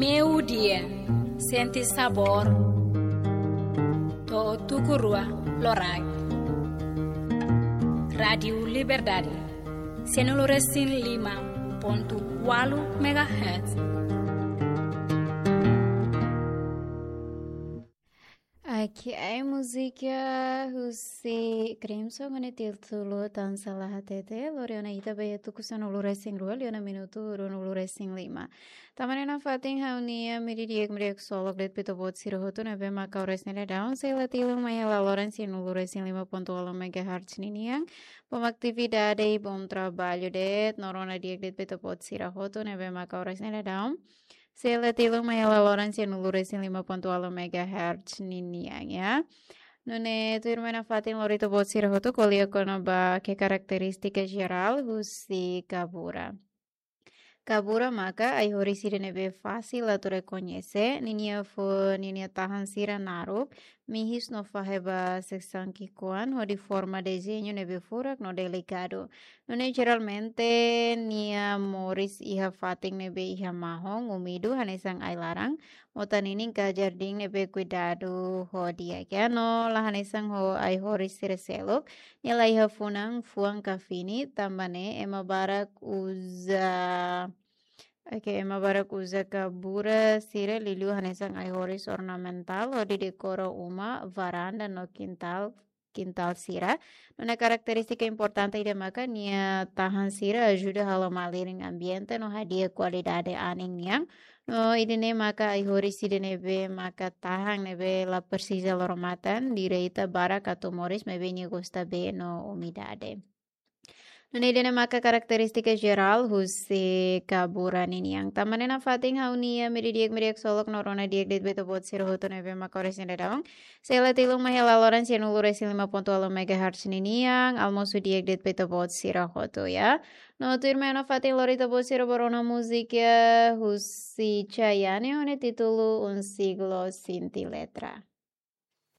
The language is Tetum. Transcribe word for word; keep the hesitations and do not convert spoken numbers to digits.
Meiudia, sente sabór. To'o tuku rua loraik. Rádiu Liberdade, sianulu resin lima pontu ualu megahertz. Oke, ai múzika husi Crimson ho nia títulu Tan Sala Hatete, lori ona ita ba iha tuku sanulu resin rua, liu ona minutu ruanulu resin lima. Tanba ne'e nafatin ha'u-nia meiudia di'ak, meiudia di'ak ksolok de'it ba ita-boot sira hotu ne'ebé mak oras ne'e daudaun, sei la tilun mai iha laloran sianulu resin lima pontu ualu megahertz ninian. Bom atividade, bom trabalho de'it, no rona di'ak de'it ba ita-boot sira hotu ne'ebé mak oras ne'e daudaun, sei la tilun mai iha laloran sianulu resin lima pontu ualu megahertz ninian, ya. Nune'e tuirmai nafatin lori ita-boot sira hotu ko'alia kona-ba karakterístika jerál husi kabura. Kabura maka ai-horis ida ne'ebé fasil atu rekoñese, ninia fo-, ninia tahan sira naruk, mihis no fahe ba sesang ki'ikoan, hodi forma dezeñu ne'ebé furak no delikadu. Nune'e jeralmente nia moris iha fatin ne'ebé iha mahon, úmidu, hanesan ai-laran, mota ninin ka jardín ne'ebé kuidadu ho di'ak, ya, no la hanesan ho ai-horis sira seluk, nia la iha funan, fuan ka fini, tanba ne'e ema barak uza, oke, ema barak uza kabura sira liuliu hanesan ai-horis ornamentál hodi dekora uma, varanda no kintál, kintál sira. Nune'e karakterístika importante ida maka nia tahan sira ajuda halo malirin ambiente no hadi'a kualidade anin nian. No ida-ne'e maka ai-horis ida ne'ebé maka tahan, ne'ebé la presiza loro matan, direta barak atu moris, maibé nia gosta bee no umidade. Nune'e ida-ne'e maka karakterístika jerál husi kabura ninian. Tanba ne'e nafatin ha'u-nia meiudia di'ak, meiudia di'ak ksolok no rona di'ak de'it ba ita-boot sira hotu ne'ebé mak oras ne'e daudaun, sei la tilun mai iha laloran sianulu resin lima pontu ualu megahertz ninian, almosu di'ak de'it ba ita-boot sira hotu, ya. No tuirmai nafatin lori ita-boot sira ba rona múzika husi Chayanne ho nia títulu Un Siglo Sin Ti Letra.